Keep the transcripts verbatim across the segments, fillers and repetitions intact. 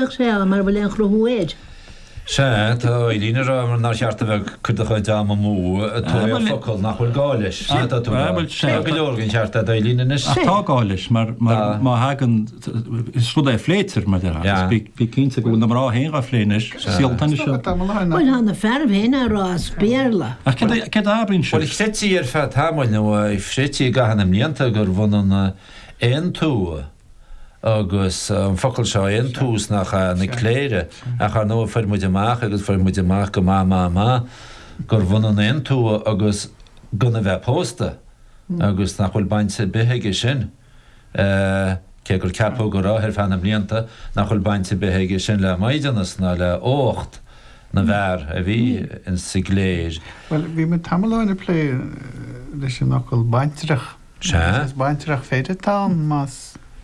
Sé mar bhfuil aon chruthú air. Sea, tá Eileen ag rá nár cheart a bheith ag cur do chuid ama amú ag tóraíocht focal nach bhfuil gá leis. Sea, tá tú ag rá. Tá go leor den cheart a'd Eileen anois. Ach tá gá leis mar má thagann, is rud é a phléitear mar déarfá agus bí bí cinnte go bhfuil na mná féin dhá phlé anois, saol an tennis seo. Bhuel, tá na fearaibh féin á rá as Béarla. Ach céard a céard a abraíonn Bhuel, sibh? chreidtí ar feadh tamaill nó chreidtí i gcaitheamh na mblianta gurbh ionann aontú Agus an focal seo aontús nach ea, na cléire, ach ar ndóigh fuair muid amach agus fuair muid amach go maith maith maith gurbh ionann aontú agus gan a bheith pósta agus nach bhfuil baint ar bith aige sin, cé gur ceapadh go raibh ar feadh na mblianta, nach bhfuil baint ar bith aige sin le maighdeanas ná le huacht na bhfear a bhí insa gcléir. Bhuel, bhí muid tamall ó shin ag plé leis an fhocal baintreach. Sea. Is baintreach fir atá ann más.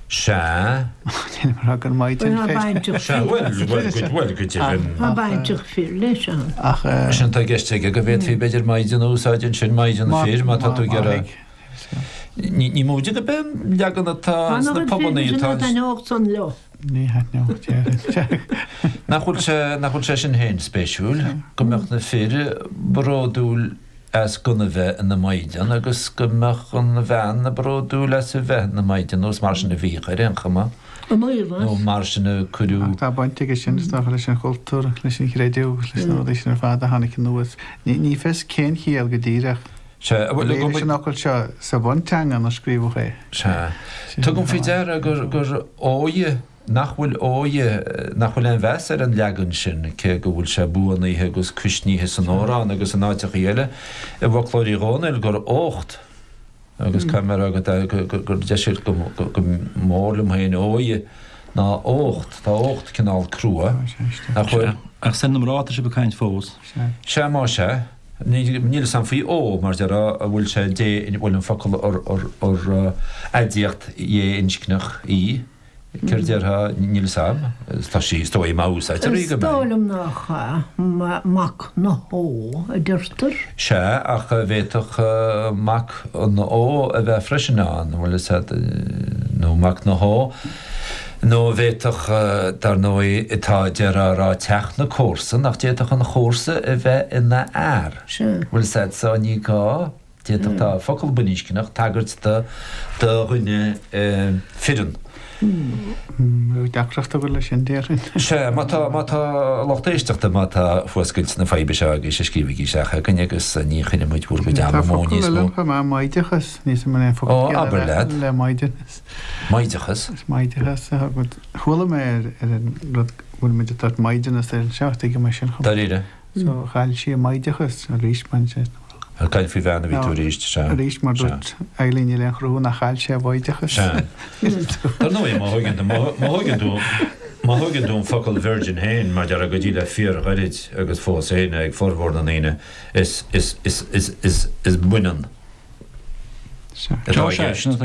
Sea. Níl mé ag rá gur maighdean Tá fir. baintreach Sea, fir. bhuel, bhuel, go, bhuel, go deimhin. Tá baintreach fir leis ann. Ach. Sin atá i gceist aige, go bhféadfaí b'fhéidir maighdean a úsáid ansin, maighdean fir, má tá tú ag iarraidh. Ní, ní móide gurb é an leagan atá Tá sna an pubannaí fir sin atá a thaitneodh san leo. Ní thaitneodh, déarfainn. Nach bhfuil sé, nach bhfuil sé sin féin spéisiúil, go mbeadh na fir bródúil as gan a bheith ina maighdean agus go mbeadh an bhean bródúil as a bheith ina maighdean, nó is mar sin a bhíodh ar aon chuma, nó mar sin a cuireadh. Tá baint aige sin, is dócha, leis an chultúr, leis an chreideamh agus leis na rudaí sin ar fad a tháinig anuas. Ní fios cén chiall go díreach Sea, a bhuel, bhí leis an fhocal seo sa bhunteanga inar scríobhadh é. Sea. Tugaim faoi deara gur, gur óighe Nach bhfuil óighe, nach bhfuil aon mheas ar an leagan sin, cé go bhfuil sé buanaithe agus cuisnithe san amhrán agus in áiteachaí eile i bhfoclóir Uí Dhónaill gur ócht, agus caithfidh mé a rá gur deise go mór liom féin óighe ná ócht, tá ócht cineál crua, nach bhfuil? Ach is ar na mná atá sibh ag caint fós. Sea, más ea. Níl fhios a'm faoi ó, mar déarfá, an bhfuil sé dé, an bhfuil an focal ar aidiacht dhé-inscneach í. Céard déarfá? Níl fhios a'm. Tá sí, is dóigh, má úsáidtear í Is go dóigh mbeidh. liom nach ea. Mac na hÓ a deirtear. Sea, ach bhféadfadh Mac an Ó a bheith freisin ann, an bhfuil fhios a'd, nó Mac na hÓ. Nó bhféadfadh, dar ndóigh, tá, déarfá a rá teach na comharsan, ach d'fhéadfadh an chomharsa a bheith ina fhear. Sea. Bhfuil fhios a'd, so ní gá. D'fhéadfadh tá focal baininscneach tagairt do do dhuine fireann. Bheadh deacracht agam leis sin, déarfainn. Sea, má tá, má tá lucht éisteachta, má tá fuascailt na faidhbe seo agaibhse, scríobhaigí isteach chugainn agus ní choinneoidh muid bhur gcuid Tá ama amú focal níos eile mó. ann chomh maith, maighdeachas. Níl 'fhios a'm an é an focal Ó, céanna abair le leat. le maighdeanas. Maighdeachas? Is maighdeachas a thug. Chuala mé ar ar an rud go bhfuil muid ag tabhairt maighdeanas air anseo, tuigim é sin chomh maith. Dáiríre? So chaill sí a maighdeachas arís, bhain sé. Ag caint faoi bhean a bhí tú arís, sea. Arís, mar dúirt Eileen níl aon chruthú nach chaill sé a mhaighdeachas. Sea. Dar ndóigh, má thóigeann tú, má thóigeann tú, má thóigeann tú an focal virgin féin, mar déarfá go dtí le fíorghairid agus fós féin ag formhór na ndaoine, is, is, is, is, is, is baineann. Atá i gceist.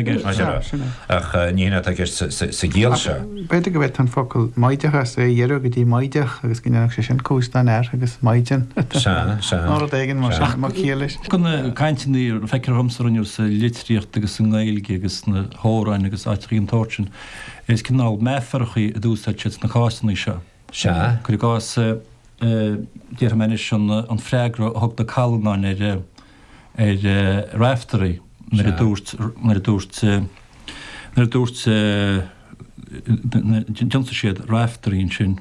Ach ní hin atá i gceist sa gciall seo. B'fhéidir go bhféadfá an focal maighdeachas a ghiorrú go dtí maighdeach agus go ndéanfadh sé sin cúis don fhear agus maighdean. Sea, sea. Nó rud éigin mar sin, mar chiall leis. Na cainteanna a feictear dhomsa a rinneadh sa litríocht agus sa nGaeilge agus sna hamhráin agus áiteachaí den tsórt sin, is cineál meafarachaí a d'úsáid siad sna cásanna seo. Sea. Cuir i gcás, déarfaidh mé anois an freagra a thug na Callanáin ar ar Raiftearaí nuair a dúirt, nuair a dúirt, nuair a dúirt, d'ionsaigh siad Raiftearaí ansin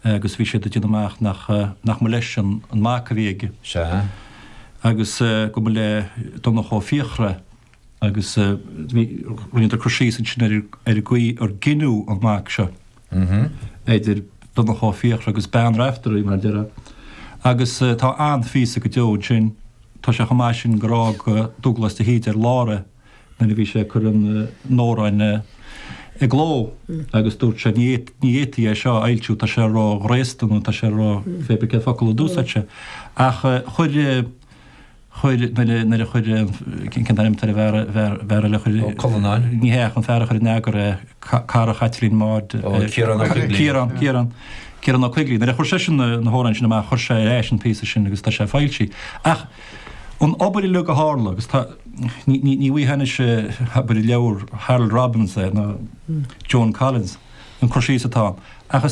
agus bhí siad ag déanamh amach nach, nach mba leis an mac a bhí aige. Sea. Agus go mba le Donnchadh Ó Fiachra agus bhí, rinneadar cur síos ansin ar ar an gcaoi ar gineadh an mac seo idir Donnchadh Ó Fiachra agus bean Raiftearaí, mar a déarfá. Agus tá an-phíosa go deo ansin. Tá sé chomh maith sin gur fhág Dubhghlas de hÍde ar lár é nuair a bhí sé ag cur an amhráin i gcló agus dúirt sé ní fhéadfaí é seo a fhoilsiú, tá sé ró-ghraosta nó tá sé ró pé bith cén focal a d'úsáid sé. Ach chuir, chuir, nuair a chuir, cén t-ainm atá ar an bhfear, bhfear eile a chuir, Ó Cullanáin? Ní hea, ach an fear a chuir in eagar é, cara Chaitlín Maude. Ó, Ciarán Ó Coigligh. Ciarán, Ciarán. Ciarán Ó Coigligh. Nuair a chuir seisean na hamhráin sin amach, chuir sé ar ais an píosa sin agus tá sé foilsithe. Ach an obair uilig a tharla, agus tá, ní, ní, ní bhfaighfeá anois, abair, i leabhar Harold Robbins é, ná Joan Collins, an cur síos atá ann. Ach is